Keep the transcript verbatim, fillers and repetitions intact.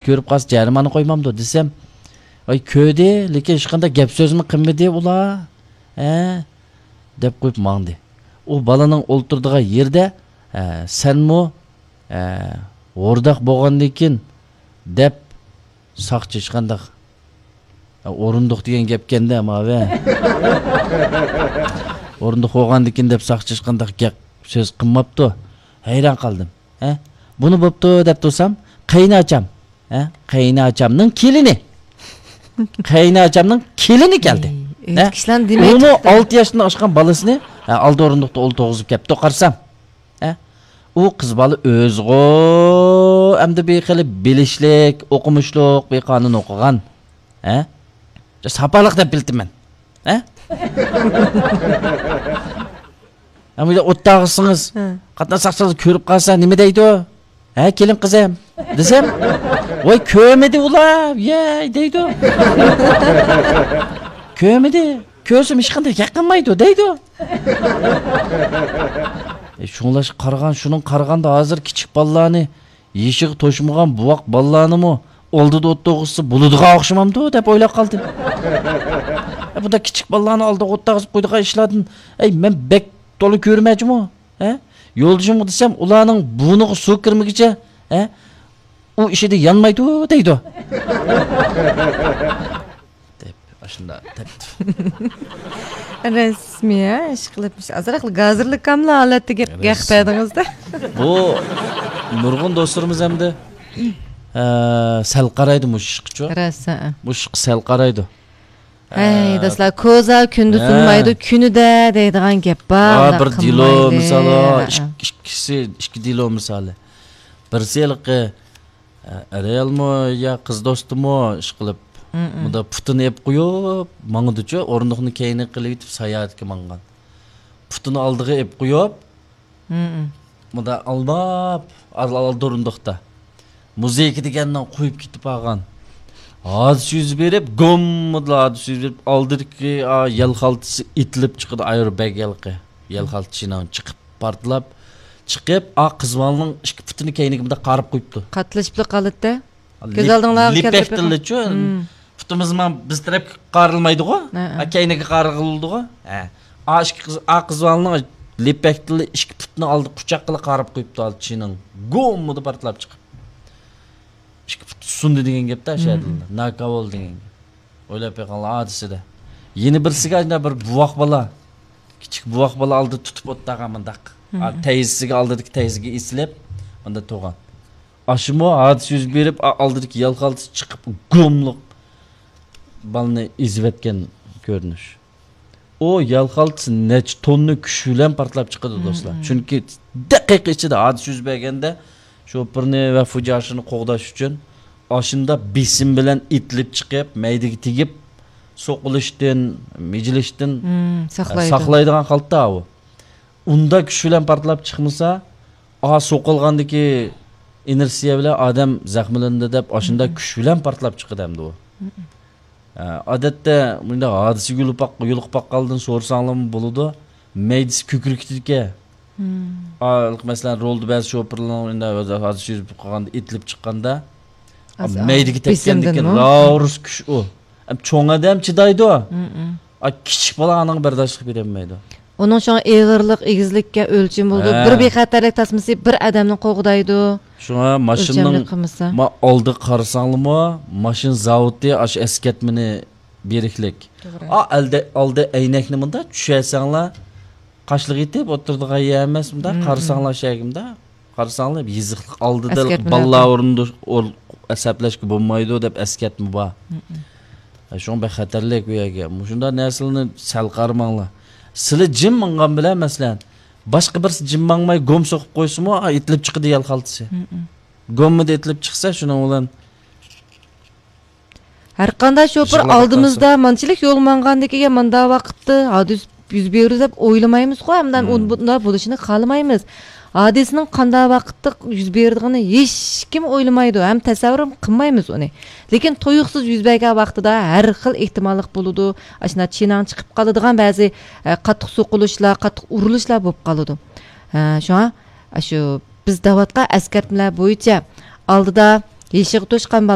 كۆرۈپ قالسا جەرىمانە قويمامدۇ دېسەم، ئاي كۆردى، لېكىن ھېچقانداق گەپ سۆزمۇ قىلمىدى ئۇلار، ھە، دەپ قويۇپ ماڭدى. ئۇ بالىنىڭ ئولتۇرىدىغان يېرىدە، ھە، سەنمۇ، ھە، ھورداق بولغاندىكىن دەپ ساقچى ھېچقانداق، ھە، ئورۇندۇق دېگەن گەپكەندە ماۋە. ئورۇندۇق بولغاندىكىن دەپ ساقچى ھېچقانداق گەپ سۆز قىلماپتۇ. ھەيران قالدىم. ھە؟ بۇنى بوپتۇ دەپ تۇرسام، قېيىنئاچام، ھە؟ قېيىنئاچامنىڭ كېلىنى. قېيىنئاچامنىڭ كېلىنى كەلدى. ئەي، ھە؟ ئۆيدىكى ئىشلارنى دېمەي ئۇمۇ تۇرۇپتۇ. ئالتە ياشتىن ئاشقان بالىسىنى، ھە، ئالدى ئورۇندۇقتا ئولتۇرغۇزۇپ كەپتۇ. قارىسام، ھە؟ ئۇ قىز بالا ئۆزىغۇ ئەمدى بىر خېلى بىلىشلىك، ئوقۇمۇشلۇق بىر قانۇن ئوقۇغان. ھە؟ ساپالىق دەپ بىلىتىمەن. ھە؟ ئەمدى ئوتتاغىسىڭىز، ھە. قاتناش ساقچىلار كۆرۈپ قالسا نېمە دەيدۇ؟ ھە، كېلىن قىزىم دېسەم، ۋاي كۆرمىدى ئۇلار، يەي دەيدۇ. كۆرمىدى، كۆرسىمۇ ھېچقانداق گەپ قىلمايدۇ دەيدۇ. ئە، شۇڭلاشقا قارىغان، شۇنىڭ قارىغاندا ھازىر كىچىك بالىلارنى يېشىغا توشمىغان بوۋاق بالىلارنىمۇ ئالدىدا ئولتۇرغۇزسا بولىدىغان ئوخشىمامدۇ دەپ ئويلاپ قالدىم. ئە، بۇنداق كىچىك بالىلارنى ئالدىغا ئولتۇرغۇزۇپ قويىدىغان ئىشلاردىن، ئەي، مەن بەك تولا كۆرمەيچىمۇ؟ ھە؟ يولدىشىمغا دېسەم، ئۇلارنىڭ بۇرنىغا سۇ كىرمىگىچە، ھە؟ ئۇ ئىشىدا يانمايدۇ دەيدۇ. دەپ، ئاشۇنداق دەپتۇ. رەسمىي، ھە، ئىشقىلىپ، ئازراق گازىرلىكاملا ھالەتتە گەپ، گەپ بەردىڭىز-دە. بۇ نۇرغۇن دوستلىرىمىز ئەمدى، ئە، سەل قارايدۇ مۇشۇ ئىشقىچۇ. راست، ھە. مۇشۇ ئىشقا سەل قارايدۇ. ھەي، ئە، دوستلار، كوزا كۈندە ھە. سۇنمايدۇ، كۈنىدە دەيدىغان گەپ بار، ھە، ئۇنداق بىر دېلو قىلمايلى. مىسالى، ھە. ئىك-، ئىككىسى، ئىككى دېلو مىسالى. بىرسى ھېلىقى، ئە، ئەرىيالمۇ يا قىز دوستىمۇ ئىشقىلىپ، مم. مۇندا پۇتىنى ئېلىپ قويۇپ، ماڭىدۇچۇ، ئورۇندۇقنى كەينىگە قىلىۋېتىپ ساياھەتكە ماڭغان. پۇتىنى ئالدىغا ئېلىپ قويۇپ، مم. مۇندا ئالماپ، ئال-، ئالدى ئورۇندۇقتا. مۇزىكا دېگەننى قويۇپ كېتىپ قالغان. ھادىسە يۈز بېرىپ، گوممىدىلا ھادىسە يۈز بېرىپ، ئالدىدىكى، ئا، يەل خالتىسى ئېتىلىپ چىقىدۇ، ئايرو بەگ ھېلىقى. يەل خالتا چىناڭ چىقىپ، پارتلاپ چىقىپ، ئا، قىز بالىنىڭ ئىككى پۇتىنى كەينىگە مۇنداق قايرىپ قويۇپتۇ. قاتلىشىپلا قالىدىتە. كۆز لىپ-، ئالدىڭلارغا كەلتۈرۈپ لىپەكتىنلىچۇ، بېقىڭ. مم. پۇتىمىز مانا بىز تەرەپكە قايرىلمايدىغۇ؟ ھە، ھە. ھە، كەينىگە قايرىلىدىغۇ؟ ھە. ئا، ئىككى قىز، ئا، قىز بالىنىڭ لىپەكتىنلا ئىككى پۇتىنى ئالدى قۇچاققىلا قايرىپ قويۇپتۇ، ھالى چىنىڭ. گوممىدە پارتلاپ چىقىپ. ئىككى پۇت سۇندى دېگەن گەپتە، مم. شەدىللا. ناكاۋول دېگەن گەپ. ئويلاپ بېقىڭلار، ھادىسىدە. يەنە بىرسىگە ئاشۇنداق بىر بوۋاق بالا، كىچىك بوۋاق بالا ئالدىدا تۇتۇپ ئولتۇرغان مۇنداق. مم. ئا، تەيزىسىگە، ئالدىدىكى تەيزىگە ئېسىلىپ، مۇنداق تۇرغان. ئاشۇمۇ ھادىسە يۈز بېرىپ، ئا-، ئالدىدىكى يەل خالتىسى چىقىپ، گوملۇق بالىنى ئېزىۋەتكەن كۆرۈنۈش. ئۇ يەل خالتىسى نەچچە توننا كۈچ بىلەن پارتلاپ چىقىدۇ، مم، دوستلار. مم. چۈنكى دەقىقە ئىچىدە ھادىسە يۈز بەرگەندە، شوپۇرنى ۋە فۇجياشىنى قوغداش ئۈچۈن ئاشۇنداق بېسىم بىلەن ئېتىلىپ چىقىپ، مەيدىگە تېگىپ، سوقۇلۇشتىن، مىجىلىشتىن، مم، ساقلايدۇ. ساقلايدىغان خالتا ئۇ. ئۇنداق كۈچ بىلەن پارتلاپ چىقمىسا، ئا، سوقۇلغاندىكى ئىنېرتسىيە بىلەن ئادەم زەخىملىنىدۇ دەپ، ئاشۇنداق، مم، كۈچ بىلەن پارتلاپ چىقىدۇ ئەمدى ئۇ. مم. ئە، ئادەتتە مۇنداق ھادىسىگە يولۇقۇپ باق-، يولۇقۇپ باققانلىرىدىن سورىساڭلارمۇ بولىدۇ. مەيدىسى كۆكىرىكىدىكەن. مم. ئا، مەسىلەن، رولدا بەزى شوپۇرلارنىڭ مۇنداق ھادىسە يۈز بېرىپ قالغاندا، ئېتىلىپ چىققاندا، ئاز، مەيدىگە ئاز تەگكەندىكىن بېسىمدىنمۇ؟ راۋۇرۇس كۈچ ئۇ. ئەم، چوڭ ئادەم چىدايدۇ. مم، مم. ئا، كىچىك بالا ئانىڭغا بەرداشلىق بېرەلمەيدۇ. ئۇنىڭ شۇڭا ئېغىرلىق، ئېگىزلىككە ئۆلچىمى بولىدۇ. ھە. بىر بىخەتەرلىك تاسمىسى بىر ئادەمنى قوغدايدۇ. شۇڭا ماشىنىنىڭ، ئۆلچەملىك قىلمىسا. ما، ئالدىغا قارىساڭلىمۇ، ماشىنا زاۋۇتى ئاشۇ ئەسكەرتمىنى بېرىكلىك. توغرا. ئا، ئەلدە، ئالدى ئەينەكنى مۇنداق چۈشەرسەڭلار، قاشلىق يېتىپ ئولتۇرىدىغان يەر ئەمەس، مۇنداق، مم، قارىساڭلار شەگىمدە، قارىساڭلار يېزىقلىق ئالدىدا ئەسكەرتمىلەر بالىلار بار. ئورنىدا ئور-، ئەسەبلەشكە بولمايدۇ دەپ ئەسكەرتمە بار. مم. ھە، شۇڭا بەك خەتەرلىك بۇ يەرگە. مۇشۇنداق نەرسىلەرنى سەل قارىماڭلار. سىلى جىم ماڭغان بىلەن، مەسىلەن، باشقا بىرسى جىم ماڭماي گوم سوقۇپ قويسىمۇ، ئا، ئېتىلىپ چىقىدۇ يەل خالتىسى. مم. گوممىدا ئېتىلىپ چىقسا، شۇنىڭ بىلەن ھەرقانداق شوپۇر ئالدىمىزدا مانچىلىك يول ماڭغاندىكىن مانداق ۋاقىتتا ھادىسە يۈز بېرىدۇ دەپ ئويلىمايمىزغۇ، ھەمدە، مم، ئۇ بۇنداق بولۇشىنى خالىمايمىز. ھادىسىنىڭ قانداق ۋاقىتتا يۈز بېرىدىغىنىنى ھېچكىم ئويلىمايدۇ ھەم تەسەۋۋۇرمۇ قىلمايمىز ئۇنى. لېكىن تۇيۇقسىز يۈز بەرگەن ۋاقتىدا ھەر خىل ئېھتىماللىق بولىدۇ. ئاشۇنداق چىناڭ چىقىپ قالىدىغان بەزى، ئە، قاتتىق سوقۇلۇشلار، قاتتىق ئۇرۇلۇشلار بولۇپ قالىدۇ. ئە، شۇڭا ئاشۇ بىز دەۋاتقان ئەسكەرتمىلەر بويىچە ئالدىدا يېشىغا توشقان